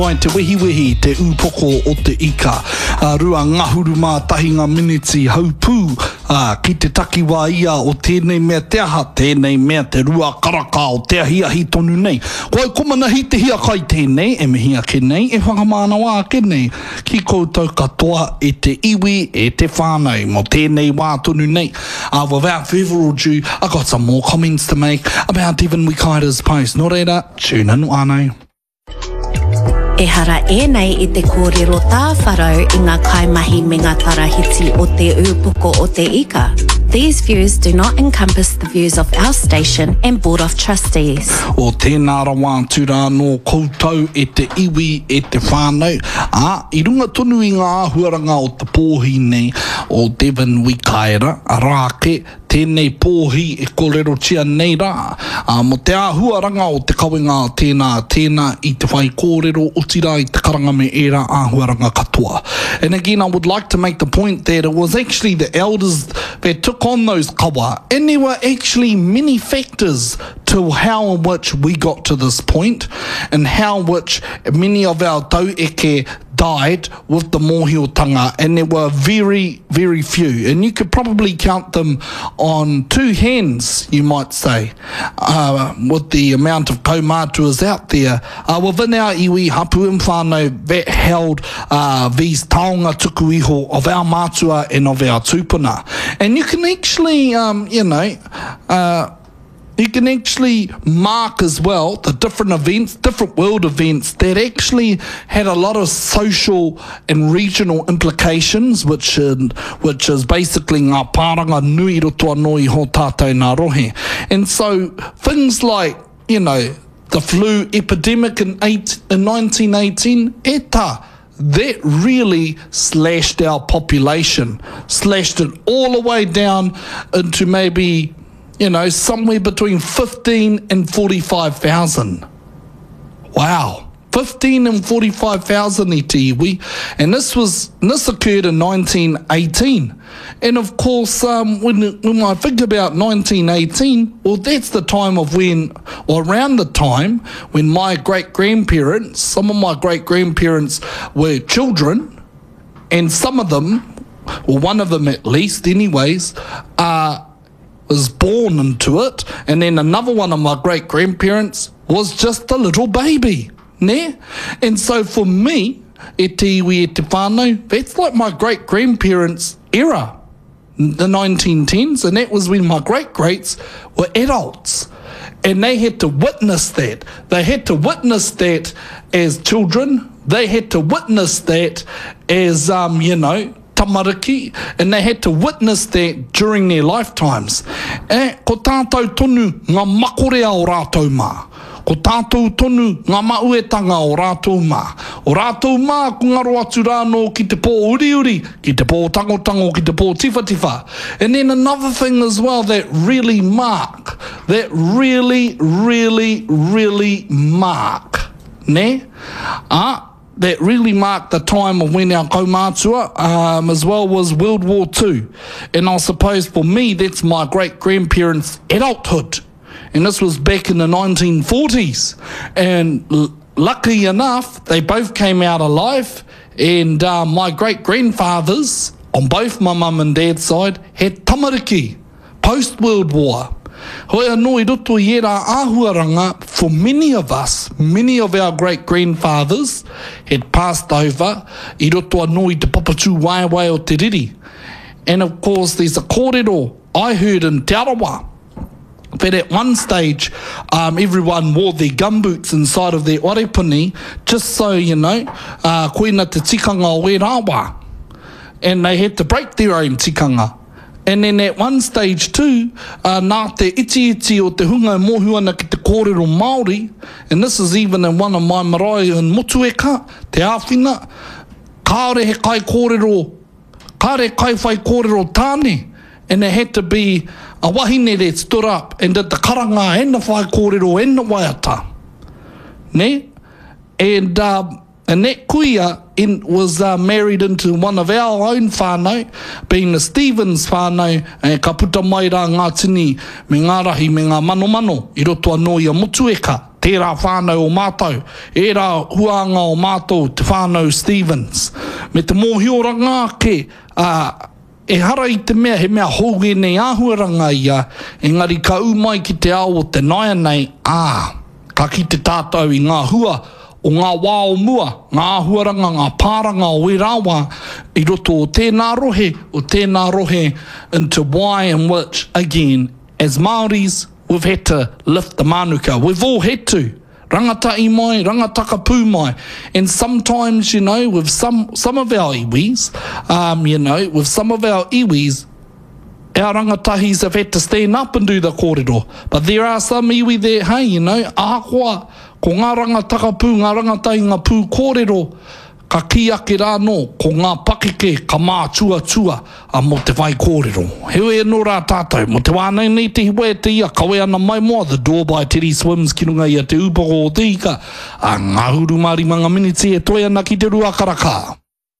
Ai te wehiwehi te ūpoko o te ika. A 21 ngā miniti haupū, ā, ki te takiwā ia o tēnei mea te aha, tēnei mea te rua karaka o te ahiahi tonu nei. Ko au ko Manahi Te Hiakai tēnei e mihi ake nei, e whakamānawa ake nei ki koutou katoa e te iwi, e te whānau mō tēnei wā tonu nei. Ā, without further ado, I got some more comments to make about Devin Wikaira's post. Nō reira, tune in whānau. Ehara ēnei i te kōrero tāwharau i ngā kaimahi me ngā tarahiti o Te Ūpoko o te Ika. These views do not encompass the views of our station and Board of Trustees. O tēnā rawa atu rā nō koutou e te iwi, e te whānau, ā, i runga tonu i ngā āhuaranga o te pōhi nei o Devon Wikaira, arā ake, Tēnei pōhi e kōrerotia nei rā, ā, mō te āhuaranga o te kawenga a tēnā, tēnā i te whaikōrero, otirā i te karanga me ērā āhuaranga katoa. And again, I would like to make the point that it was actually the elders that took on those kawa, and there were actually many factors to how in which we got to this point, and how which many of our taueke died with the mōhiotanga, and there were very, very few. And you could probably count them on two hands, you might say, uh, with the amount of kaumātuas out there uh, within our iwi, hapu and whānau that held uh, these taonga tuku iho of our mātua and of our tūpuna. And you can actually, um, you know, uh, You can actually mark as well the different events, different world events that actually had a lot of social and regional implications, which, which is basically ngā pāranga nui roto anō i hō tātou nā rohe. And so things like, you know, the flu epidemic in, eight, in 1918, e tā, that really slashed our population, slashed it all the way down into maybe, you know, somewhere between 15 and 45,000. Wow. 15 and 45,000 i te iwi. And this was, this occurred in 1918. And of course, um, when, when I think about 1918, well, that's the time of when, or around the time when my great grandparents, some of my great grandparents were children, and some of them, or one of them at least, anyways, uh, was born into it. And then another one of my great grandparents was just a little baby. Ne? And so for me, e te iwi e te whānau, that's like my great grandparents' era, the 1910s, and that was when my great greats were adults. And they had to witness that. They had to witness that as children. They had to witness that as, um, you know, tamariki, and they had to witness that during their lifetimes. E, ko tātou tonu ngā makorea o rātou mā. Ko tātou tonu ngā mauetanga o rātou mā. O rātou mā ko ngaro atu rānō ki te pō uriuri, ki te pō tangotango, ki te pō tiwhatiwha. And then another thing as well that really mark, that really, really, really mark, nē? Ā, that really marked the time of when our kaumātua um, as well was World War II. And I suppose for me, that's my great-grandparents' adulthood. And this was back in the 1940s. And lucky enough, they both came out alive. And uh, my great-grandfathers, on both my mum and dad's side, had tamariki post-World War. Hoi anō i roto i ērā āhuaranga, for many of us, many of our great-grandfathers had passed over i roto anō i te papatūwaewae o te riri. And of course there's a kōrero I heard in Te Arawa that at one stage um, everyone wore their gumboots inside of their wharepuni just so, you know, uh, koina te tikanga o ērā wā. And they had to break their own tikanga. And then at one stage too, uh, nā te itiiti o te hunga e mōhio ana ki te kōrero Māori, and this is even in one of my marae in Motueka, Te Āwhina, kāore he kaikōrero, kāore kaiwhaikōrero tāne, and it had to be a wahine that stood up and did the karanga and the whaikōrero and the waiata. Nē? And um, And that kuia in, was uh, married into one of our own whānau, being the Stevens whānau, e, ka puta mai rā ngā tini me ngā rahi me ngā manomano i roto anō i a Motueka. Tērā whānau o mātou, ērā huānga o mātou, te whānau Stevens. Me te mōhioranga ake, ā, ehara i te mea he mea hou ēnei āhuaranga ia, engari ka ū mai ki te ao o te nāianei, ā, ka kite tātou i ngā hua o ngā wā o mua, ngā āhuaranga, ngā pāranga o ērā wā i roto o tēnā rohe, o tēnā rohe, into why and which, again, as Māoris, We've had to lift the mānuka. We've all had to. Rangatahi mai, rangatakapū mai. And sometimes, you know, with some, some of our iwis, um, you know, with some of our iwis, our rangatahis have had to stand up and do the kōrero. But there are some iwi that, hey, you know, ahakoa, ko ngā rangatakapū, ngā rangatahi ngā pū kōrero, Ka kī ake rā anō, ko ngā pakeke ka mātuatua mō te whaikōrero. Heoi anō rā tātou, mō te wā nei nei te hiwa e te ia kawe ana maimoa The Door by Teddy Swims ki runga i a Te Ūpoko o Te Ika, ā, ngahuru mā rima ngā miniti e toe ana ki te rua karaka.